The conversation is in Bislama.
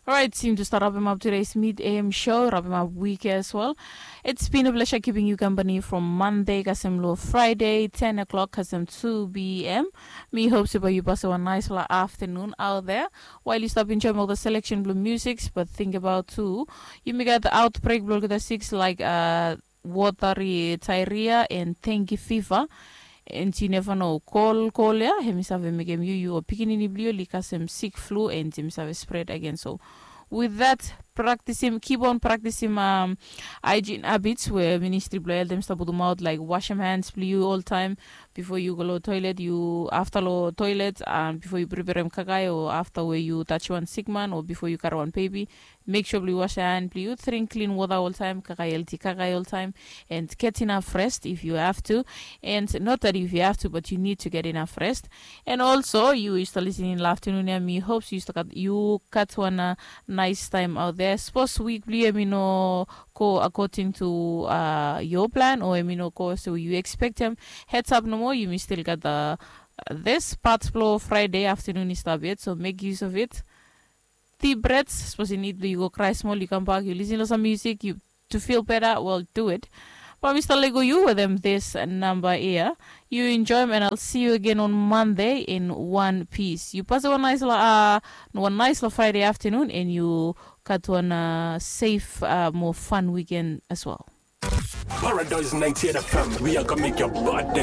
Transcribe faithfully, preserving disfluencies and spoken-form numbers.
Orait, yumi tu stap rapim ap tudeis mid am show, rapim ap wik as well. It's been a pleasure keeping you company from Monday kasem long Friday, ten o'clock kasem two p.m. Mi hope se bae yu pasem wan naispela afternoon out there. While yu stap enjoyim ol selection blong musics, but think about tu, yumi gat outbreak blong olgeta siks laik uh, watery diarrhea and dengue fever. And yu neva no, kol kol ya hemi save mekem yu, yu o pikinini blong yu oli kasem sick flu and hemi save spread again. So with that, practicing, keep on practicing um, hygiene habits where ministry blong health dem stap putumaut, like wash your hands blong yu all time before you go to toilet, you after lo toilet and before you prepare him kakai or after where you touch one sick man or before you carry one baby, make sure blong yu wash your hand blong yu, drink clean water all time, kakai healthy kakai all time, and get enough rest if you have to. And not that if you have to, but you need to get enough rest. And also, you used to listening in afternoon ya, mi hopes you used to cut, you cut one uh, nice time out there. Suppose week blong yu hemi no go according to uh, your plan or hemi no go so you expect him. Heads up no more, you still got the this part blong Friday afternoon is stop yet, so make use of it. Deep breaths, suppose you need you go cry small, you come back, you listen to some music, you to feel better, well, do it. But Mister Lego, you with them this number here. You enjoy them, and I'll see you again on Monday in one piece. You pass one nice, uh, one nice Friday afternoon, and you got one uh, safe, uh, more fun weekend as well. Paradise ninety-eight F M, we are gonna make your birthday.